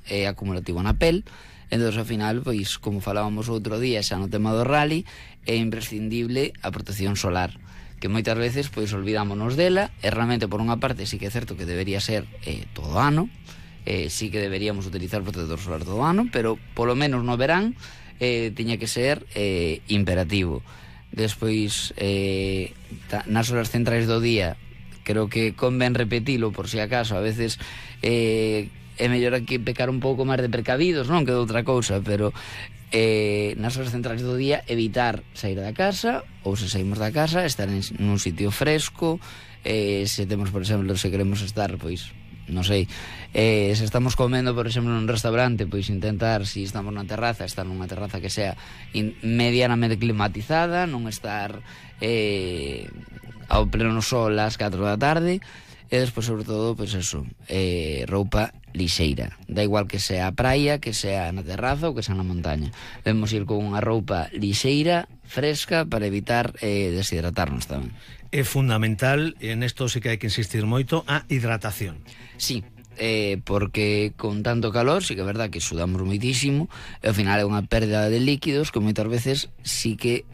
é acumulativo na pel. Entón, ao final, pois, como falábamos outro día xa no tema do rally, é imprescindible a protección solar, que moitas veces pois olvidámonos dela, e realmente por unha parte sí que é certo que debería ser todo ano, sí que deberíamos utilizar protector solar todo ano, pero polo menos no verán tiña que ser imperativo. Despois, nas horas centrais do día, creo que convén repetilo por si acaso, a veces é mellor aquí pecar un pouco máis de precavidos, non que de outra cousa, pero nas horas centrais do día evitar sair da casa, ou se saímos da casa estar nun sitio fresco, se temos, por exemplo, se queremos estar, pois non sei, se estamos comendo, por exemplo, nun restaurante, pois intentar, se estamos na terraza, estar nunha terraza que sea medianamente climatizada, non estar ao pleno sol ás 4 da tarde. E despois, sobre todo, pois eso, roupa lixeira, da igual que sea a praia, que sea na terraza ou que sea na montaña. Debemos ir con unha roupa lixeira, fresca, para evitar deshidratarnos tamén. É fundamental, e nesto sí que hai que insistir moito, a hidratación. Sí, porque con tanto calor sí que é verdad que sudamos moitísimo, e ao final é unha pérdida de líquidos que moitas veces sí que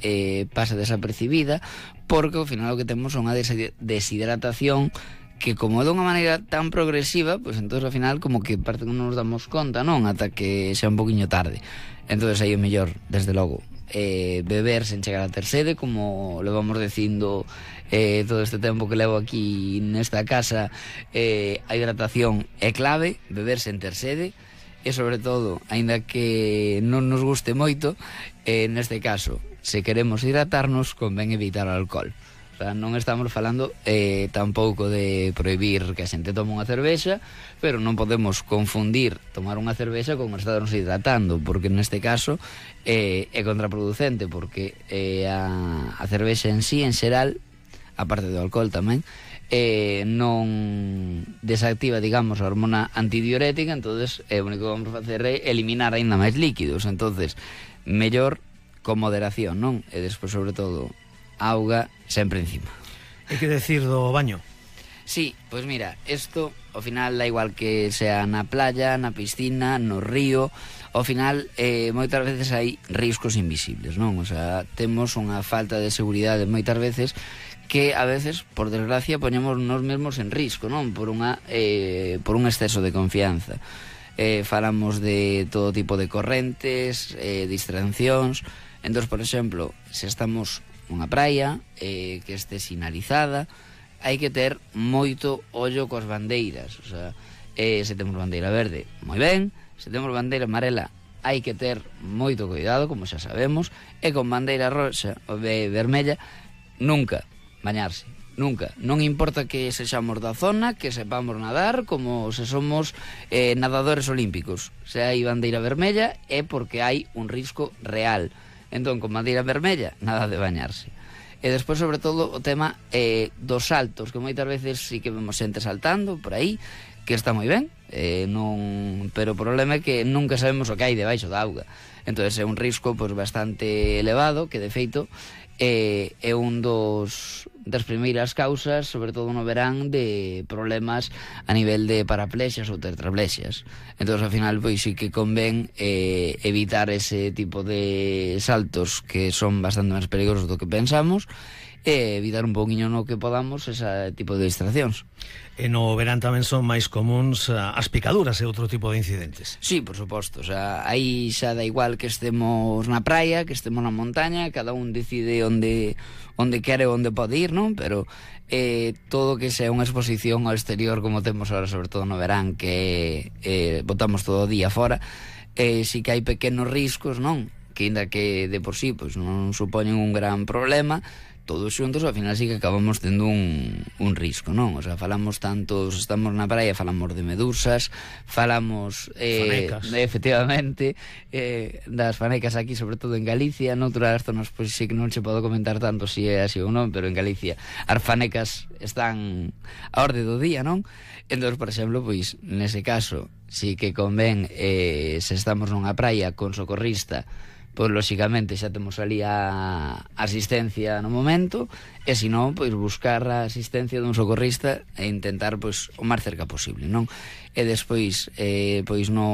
pasa desapercibida, porque ao final o que temos son unha deshidratación que, como é de unha maneira tan progresiva, pois entón ao final como que parte que non nos damos conta, non? Ata que xa un poquinho tarde. Entón aí o mellor, desde logo, beber sen chegar a ter sede, como levamos dicindo todo este tempo que levo aquí nesta casa. A hidratación é clave, beber sen ter sede, e sobre todo, aínda que non nos guste moito, neste caso, se queremos hidratarnos, convén evitar o alcohol. O sea, non estamos falando tampouco de prohibir que a xente tome unha cervexa, pero non podemos confundir tomar unha cervexa con estarnos hidratando, porque neste caso é contraproducente, porque a cervexa en sí, en xeral, aparte do alcohol tamén, non desactiva, digamos, a hormona antidiurética. Entonces o único que vamos a facer é eliminar aínda máis líquidos. Entonces, mellor con moderación, non? E despois, sobre todo, auga sempre encima. Hai que decir do baño? Sí, pois mira, isto ao final da igual que sea na playa, na piscina, no río, ao final moitas veces hai riscos invisibles, non? O sea, temos unha falta de seguridade moitas veces que a veces, por desgracia, poñemos nos mesmos en risco, non? Por un exceso de confianza. Falamos de todo tipo de correntes, distraccións. Entón, por exemplo, se estamos nunha praia que este sinalizada, hai que ter moito ollo coas bandeiras. O sea, se temos bandeira verde, moi ben. Se temos bandeira amarela, hai que ter moito cuidado, como xa sabemos. E con bandeira roxa ou vermella, nunca bañarse, nunca. Non importa que sexamos da zona, que sepamos nadar, como se somos nadadores olímpicos. Se hai bandeira vermella é porque hai un risco real. Entón, con bandeira vermella, nada de bañarse. E despois, sobre todo, o tema dos saltos, que moitas veces sí que vemos xente saltando por aí, que está moi ben, pero o problema é que nunca sabemos o que hai debaixo da auga. Entón, é un risco bastante elevado, que de feito é un das primeiras causas, sobre todo no verán, de problemas a nivel de paraplexias ou tetraplexias. Entón, ao final, pois sí que convén evitar ese tipo de saltos que son bastante máis peligrosos do que pensamos, e evitar un pouquiño no que podamos ese tipo de distraccións. E no verán tamén son máis comuns as picaduras e outro tipo de incidentes. Sí, por suposto, o sea, aí xa da igual que estemos na praia, que estemos na montaña, cada un decide onde quere, onde pode ir, non? Pero todo que sea unha exposición ao exterior, como temos ahora, sobre todo no verán, que botamos todo o día fora, sí que hai pequenos riscos, non? Que ainda que de por sí pois non supoñen un gran problema, todos xuntos ao final sí que acabamos tendo un risco, non? O sea, falamos tanto, estamos na praia, falamos de medusas, falamos fanecas. Efectivamente, das fanecas aquí, sobre todo en Galicia. Noutras zonas pois sí que non se pode comentar tanto se é así ou non, pero en Galicia as fanecas están a orde do día, non? Entón, por exemplo, pois nese caso sí que convén, se estamos nunha praia con socorrista, pois lóxicamente xa temos ali a asistencia no momento, e se non, pois buscar a asistencia dun socorrista e intentar pois o máis cerca posible, non? E despois pois no